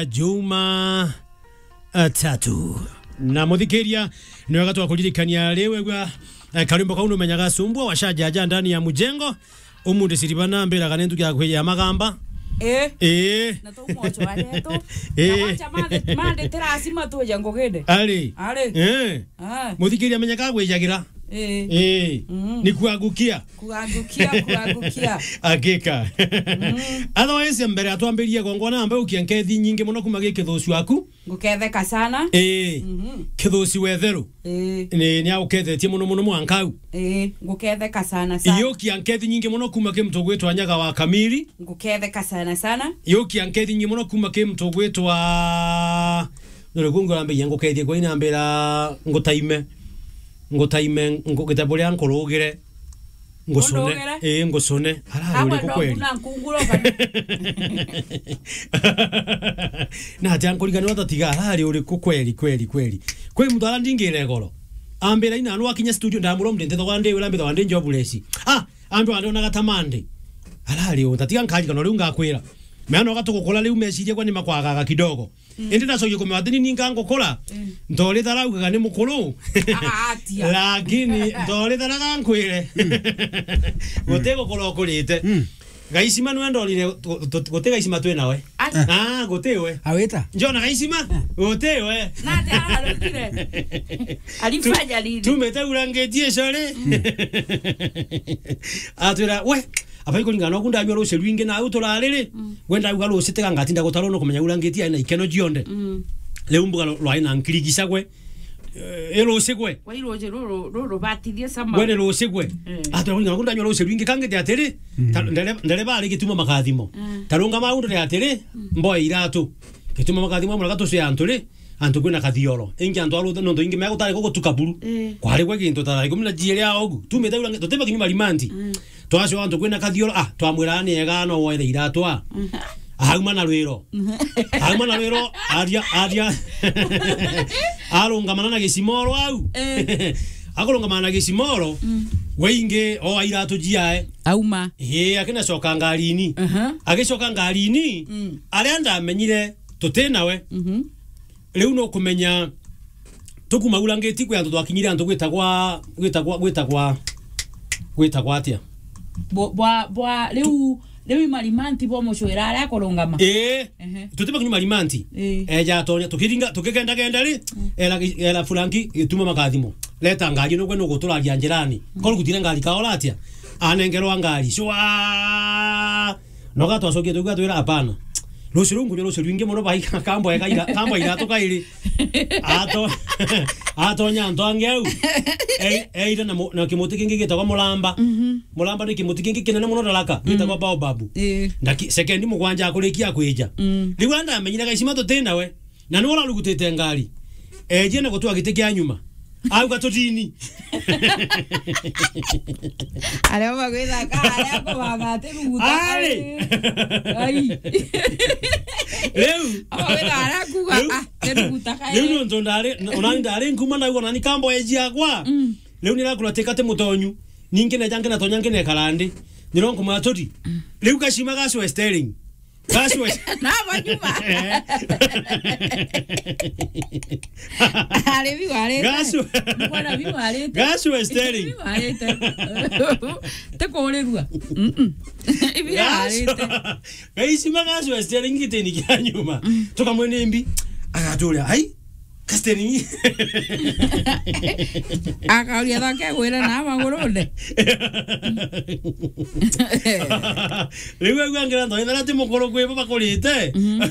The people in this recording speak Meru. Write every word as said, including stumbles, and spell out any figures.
Juma, eh, tatu. Na muthikiria, ni wega twakuririkania riu wegua, eh, karimbo kau numenyaga sumbua washajaja ndani ya mujengo. Umundi siriba nambiraga ni ntuki ya kwiya magamba. Eh. Eh. Na tu mocho aretu. Eh. Na wacha mande, mande terasi matuja nguginde. Ari. Ari. Eh. Ah. Muthikiria menyeka gwijagira. Eh. Eh. Mm. Ni kuangukia. Kuangukia, kuangukia. Hakika. Mm. Otherwise, mbere atwambirie gongona ambe ukia nkethi nyingi muno kuma gi kithuci waku. Nguketheka sana. Eh. Mhm. Kithuci wetheru. Eh. Ni, ni aukethetie muno muno mwanka u. Eh, nguketheka sana sana. Yokia nkethi nyingi muno kuma ki mtu gwitwa Nyaga wa Kamiri. Nguketheka sana sana. Yokia nkethi nyingi muno kuma ki mtu gwitwa Nore kungu rambe ngukethie kwa inambira ngutaime. Ngutaime ngugita buria nkurugire. Ngusune. Ngurugire? Eh, ngusune. Arari uriku kweli? Ndokuna nkunguro kana? Na ati ankurigani watatiga arari uriku kweli, kweli, kweli. Kwi mtu ara ndingire goro. Ambira ina anwa kinya studio ndamuromde ntethagwa ndi wira mbithagwa ndi jobless. Ah, andu ande onaga tamande. Arari utatiga nkarigana riu ngakwira. Meana ugatukukula riu meciria kwa ni makwagaga kidogo. Mm. Indi ndacokia kumenya ati ni ninga ngukura. Mm. Ntori tharaugaga ni mukuru. Ah, atia. Lakini ntori tharaga nkwire. Mm. Guti gukura ukurite. Mm. Gaicima nwe ndorire, gu-, gu-, guti gaicima twi nawe. Ai. Ah, guti we. Awita? Njona gaicima? Ah. Guti we. Na ati ararugire. Alifanya nini? Tumete urangeti icori. Mm. Atwira, we, abai kuringana noku ndanyua ruci rwingi na au turariri. Mm. Gwenda uga ruci tiga ngatinda gutarwo no kumenya urangeti aina ikeno jionde. Mm. Riu mbuga rwai na nkirigisa gwe. Eh, ruci gwe. Kwa ruci ruru, ruru batithie sama. Gwe ni ruci gwe. Eh. Atwira kuringana noku ndanyua ruci rwingi kangite atiri. Mm. Ta-, ndere, ndere bari gituma makathimo. Mm. Tarunga maundire atiri, mm, mboe iratu. Gituma makathimo amwe gatuci antu ri. Antu kwina kathioro. Ingi antu arute nontu ingi mea gutari gugutuka buru. Eh. Kwari gwe gintu ta ikumi na jiiri ya ogu. Tumite ura tuteba kinyuma rimanti. Mm. Twacua antu kwina kathioro, ah, twamwira ni ega no woere iratwa. Mm. Auma na rwiro. Mm. Auma na rwiro, aria, aria. Arungamana na gicimoro au. Eh. Akurungamana na gicimoro, mm, we ingi o iratu jiae. Auma. Ii, akina coka ngarini. Aha. Agicoka ngarini, mm, aria ndamenyire tuti nawe. Mhm. Riu nukumenya tukuma urangiti kwi antu twakinyire antu gwitagwa, gwitagwa, gwitagwa, gwitagwa atia? Bo-, bwa, bwa, riu, riu imarimanti bo mucwira aria akurungama. Ii. Ehe. Tutiba kinyuma rimanti. Ii. Eja atonya, tukiringa, tukigenda genda ri, mm, era gi-, era Franki gituma makathimo. Leta ngari ino gwe nuguturaria njirani. Mm. Koru gutire ngari kaora atia? Anengerwa ngari. Shwa! Noga twacokia tuigua twira, "Hapana. Rucio ruu nkunywa rucio rwingi muno bai kambo ega ira-, kambo iratu kairi." Ato-, atonya antu angi au. E-, eire na mu-, na kimuti kingi gitagwa mulamba. Mhm. Mulamba ni kimuti kingi kinene muno daraka, mm, gitagwa baobab. Ii. Ndaki-, sekendi mugwanja akurikia kwija. Mm. Riu andamenyire gaicima tuti nawe. Na niwe urarugutite ngari. Ejie na gutwa giti kia nyuma. Auga tutini. Aria bagwithaka, aria kubaga ati ruguta. Ari. Ai. Riu. Abagwitha aria kuga, riu, ah, ti ruguta kae. Riu nontu ndari, onani ndari nkuma ndauga onani kambo eji akwa. Mm. Riu nirakuratika ti mutonyu. Ningi neja ngina tonya ngina ekara ndi. Nironkumwa tuti. Mm. Riu gacima gacwe steering. Gaswe. Na banyuma. Eh. Ari bi warite. Gaswe. Mbona bi warite? Gaswe steering. Bi warite. Tikurirua. Mm-mm. Ibi warite. Gaisima gaswe steering gitini kia nyuma. Mm. Tukamwene mbi. Agaturia, "Ai, kasteni." Akauria thake gwira na magurune. Riu aigua ngira nthoithera ti mukuru kwi bo bakurite. Mhm.